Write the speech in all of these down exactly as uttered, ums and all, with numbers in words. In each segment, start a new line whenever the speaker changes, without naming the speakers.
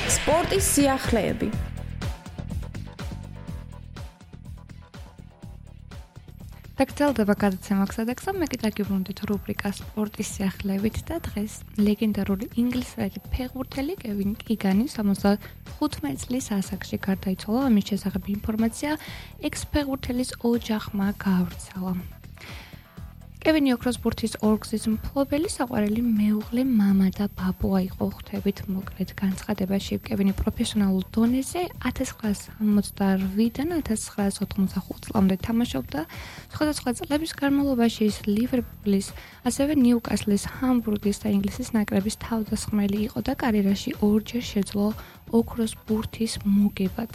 სპორტის სიახლეები.
დაგრძელდება გადაცემა გზადაგზა, მე კიდევ გიბრუნდით რუბრიკა სპორტის სიახლეებით და დღეს ლეგენდარული ინგლისელი ფეხბურთელი კევინ კიგანი სამოცდახუთმეტ წლის ასაკში გარდაიცვალა. ამის შესახებ ინფორმაცია ექს-ფეხბურთელის ოჯახმა გაავრცელა. კევინი ოქროს ბურთის ორგზის მფლობელი, საყვარელი მეუღლე, მამა და ბაბუა იყო. ხვდებით მოკლედ განცხადებაში. კევინი პროფესიონალურ დონეზე ათას ცხრაასი სამოცდაოთხიდან ათას ცხრაასი ოთხმოცდახუთ წლამდე თამაშობდა. სხვადასხვა წლების განმავლობაში ის ლივერპულის, ასევე ნიუკასლის, ჰამბურგის და ინგლისის ნაკრების თავდამსხმელი იყო და კარიერაში ორჯერ შეძლო ოქროს ბურთის მოგებაც.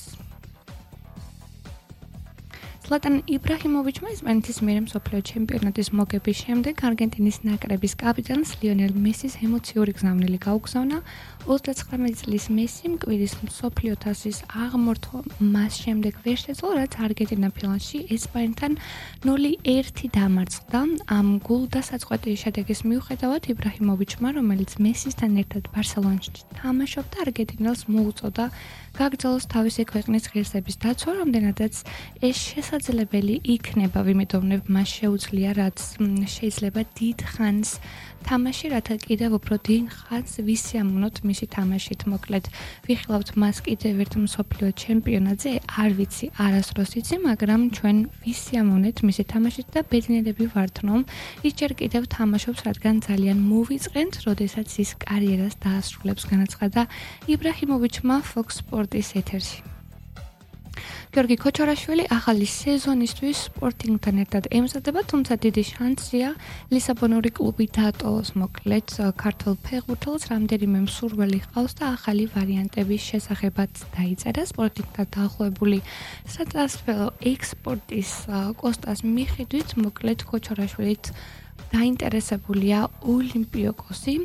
ზლატან იბრაჰიმოვიჩმა ესპანეთის მიერ მსოფლიო ჩემპიონატის მოგების შემდეგ არგენტინის ნაკრების კაპიტანს ლიონელ მესის ემოციური გზავნილი გაუგზავნა. ოცდაცხრამეტი წლის მესიმ კვირის მსოფლიო თასის აღმართვა მას შემდეგ ვერ შეძლო, რაც არგენტინა ფინალში ესპანეთთან ნული ერთი დამარცხდა. ამ გულდასაწყვეტი შედეგის მიუხედავად იბრაჰიმოვიჩმა, რომელიც მესისთან ერთად ბარსელონაში თამაშობდა, არგენტინელს მოუწოდა გაგრძელოს თავისი ქვეყნის ღირსების დაცვა, რამდენადაც ეს შესაძლებელი იქნება, ვიმედოვნებ, მას შეუძლია, რაც შეიძლება დიდ ხანს თამაში, რათა კიდევ უფრო დიდ ხანს ვისიამოვნოთ მისი თამაშით. მოკლედ, ვიხილავთ მას კიდევ ერთ მსოფლიო ჩემპიონატზე, არ ვიცი, არასდროს იცი, მაგრამ ჩვენ ვისიამოვნეთ მისი თამაშით და ბედნიერები ვართ, რომ ის ჯერ კიდევ თამაშობს, რადგან ძალიან მოვიწყენთ, როდესაც ის კარიერას დაასრულებს, განაცხადა იბრაჰიმოვიჩმა Fox Sports-ის ეთერში. გიორგი ქოჩორაშვილი ახალი სეზონისთვის სპორტინგთან ერთად ემზადება, თუმცა დიდი შანსია ლისაბონური კლუბი დატოვოს. მოკლედ, ქართულ ფეხბურთელს რამდენიმე მსურველი ჰყავს და ახალი ვარიანტების შესახებაც დაიწერა. სპორტინგთან დაახლოებული სატრანსფერო ექსპორტის კოსტას მიხედვით, მოკლედ ქოჩორაშვილით დაინტერესებულია ოლიმპიაკოსი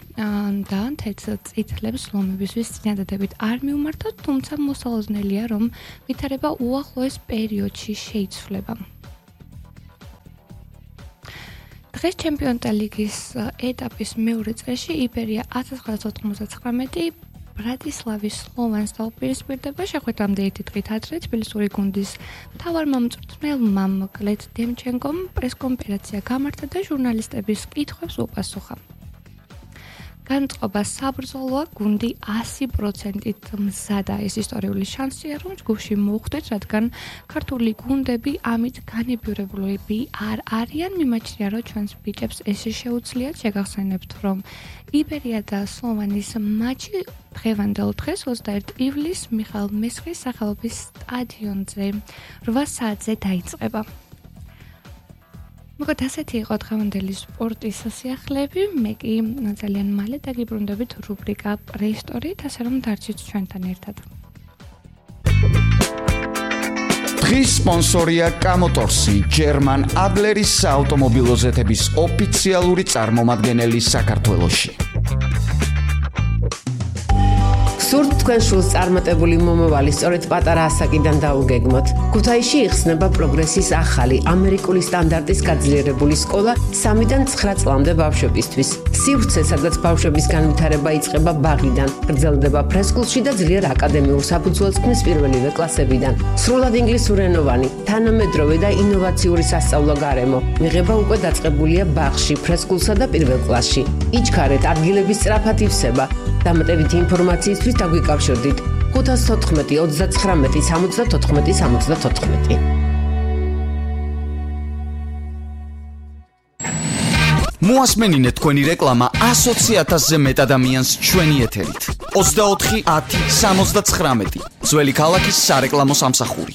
და თეთრწითლებს ლომებისთვის წინადადებით არ მიუმართოთ, თუმცა მოსალოდნელია, რომ ვითარება უახლოეს პერიოდში შეიცვლება. დღეს ჩემპიონთა ლიგის ეტაპის მეორე წრეში იბერია ათას ცხრაასი ოთხმოცდაცხრამეტი ბრატისლავის სლოვანს დაუპირისპირდება. შეხვედრამდე ერთი დღით ადრე თბილისური გუნდის მთავარმომწვრთნელმა მოკლედ დემჩენკომ პრესკონფერენცია გამართა და ჟურნალისტების კითხვებს უპასუხა. განწყობა საბრძოლოა, გუნდი ასი პროცენტით მზადა. ეს ისტორიული შანსია, რომ ჯგუფში მოხვდეთ, რადგან ქართული გუნდები ამით განებიურებულები არ არიან. მიმაჩნია, რომ ჩვენს ბიჭებს ეს შეუძლიათ. შეგახსენებთ, რომ იბერია და სლოვანის მატჩი დღევანდელ დღეს ოცდაერთი ივლისს მიხაილ მესხის სახელობის სტადიონზე რვა საათზე დაიწყება. მოკლედ ასეთი იყო დღევანდელი სპორტის სიახლეები. მე კი ძალიან მალე დაგიბრუნდებით რუბრიკა პრეისტორიით, ასე რომ დარჩით ჩვენთან ერთად.
დღის სპონსორია კამოტორსი, ჯერმან ადლერის საავტომობილო ზეთების ოფიციალური წარმომადგენელი საქართველოში.
სურთ თქვენ შულს წარმატებული მომავალი სწორედ პატარა ასაკიდან დაუგეგმოთ. ქუთაისში იხსნება პროგრესის ახალი ამერიკული სტანდარტის გაძლიერებული სკოლა სამიდან ცხრა წლამდე ბავშვებისთვის. სივრცე, სადაც ბავშვების განვითარება იწყება ბაღიდან, გრძელდება ფრესკულში და ძლიერ აკადემიურ საფუძველს ქმნის პირველივე კლასებიდან. სრულად ინგლისურენოვანი, თანამედროვე და ინოვაციური სასწავლო გარემო მიღება უკვე დაწყებულია ბაღში, ფრესკულსა და პირველ კლასში. იჩქარეთ, ადგილების სწრაფად ივსება. დამატებითი ინფორმაციისთვის დაგვიკავშირდით ხუთას თოთხმეტი ოცდაცხრამეტი სამოცდათოთხმეტი სამოცდათოთხმეტი.
მოასმენინეთ თქვენი რეკლამა ასოცი ათასზე მეტ ადამიანს ჩვენი ეთერით. ოცდაოთხი ათი სამოცდაცხრამეტი ძველი ქალაქის სარეკლამო სამსახური.